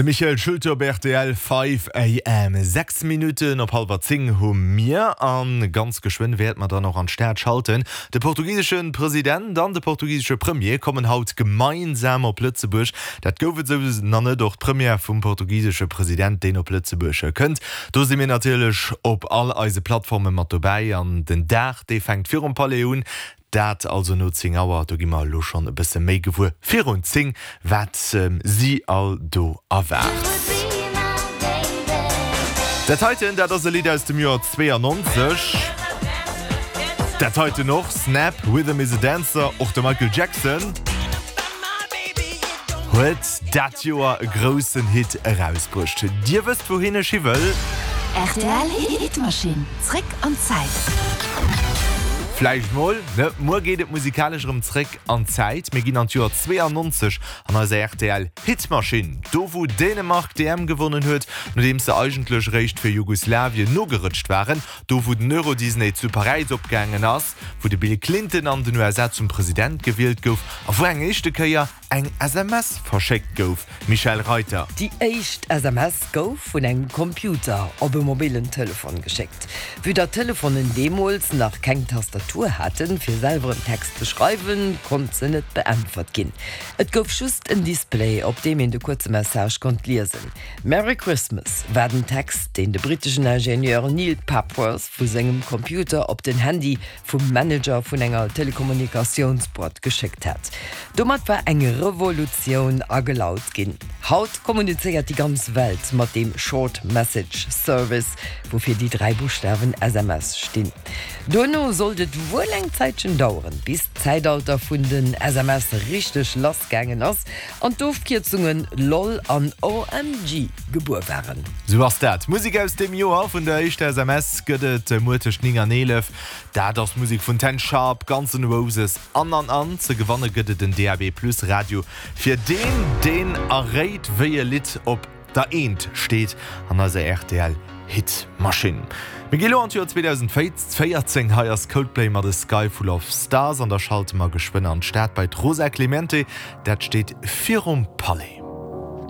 De Michael Schulte op rtl 5 AM. 6 Minutten op hallwer 10 hu mir a ganz geschwënn wäerte mer dann och an d'Stad schalten. De portugisesche President an de portugisesche Premier kommen haut gemeinsam op Lëtzebuerg. Dat gouf et esou nach net. Och d'Première vum portugisesche President, deen op Lëtzebuerg kënnt. Do si mir natierlech op all eise Plattforme mat dobäi an den Dag, dee fänkt virum Palais un. Dat also no 10 Auer, do gi mer elo schonn e bësse méi gewuer virun 10, wat si all do erwaart. Dat heiten, dat ass e Lidd aus dem Joer 92. Dat heiten och, Snap, Rhythm is a Dancer. Och de Michael Jackson huet dat Joer e groussen Hit erausbruecht. Dir wësst wouhin ech hi wëll. Rtl Hitmaschinn, zréck an d'Zäit. Vläicht mol, ne? Muer geet et musikalesch erëm zréck an d'Zäit. Mir ginn an d'Joer 92 an eiser rtl Hitmaschinn. Do wou Dänemark d'EM gewonnen huet, nodeems se eigentlech eréischt fir Jugoslawien nogerëtscht waren. Do wou den Eurodisney zu Paräis opgaangen ass, wou de Bill Clinton an den USA zum President gewielt gouf a wou eng éischte Kéier Eng SMS verschéckt gouf, Michèle Reyter. Déi éischt SMS gouf vun engem Computer op e mobillen Telefon geschéckt. Vue datt d'Telefonen deemools nach keng Tastatur haten, fir selwer en Text ze schreiwen, konnt se net beäntwert ginn. Et gouf just en Display, op deem een de kuerze Message konnt liesen. Merry Christmas war den Text, deen de britteschen Ingenieur Neil Papworth vu sengem Computer op den Handy vum Manager vun enger Telekommunikatiounsboîte geschéckt hat. Domat war eng Revolutioun agelaut ginn. Haut kommunizéiert déi ganz Welt mat deem Short Message Service, woufir déi 3 Buschtawen SMS stinn. Duerno sollt et wuel eng Zäitchen daueren, bis d'Zäitalter vun den SMS richteg lass gaangen ass an d'Ofkierzungen lol an OMG gebuer waren. Sou ass dat. Musek aus dem Joer vun der éischter SMS gëtt et muer tëscht 9 an 11. Dat ass Musek vun Ten Sharp, Guns N' Roses an an an. Ze gewanne gëtt et en DAB Plus Radio fir deen, deen erréit wéi e Lidd op der Eent steet an eiser rtl Hitmaschinn. Mir gi lo an d'Joer 2014, hei ass Coldplay mat A Sky Full of Stars an da schalte mer geschwënn an d'Stad bei d'Rosa Clemente, dat steet virum Palais.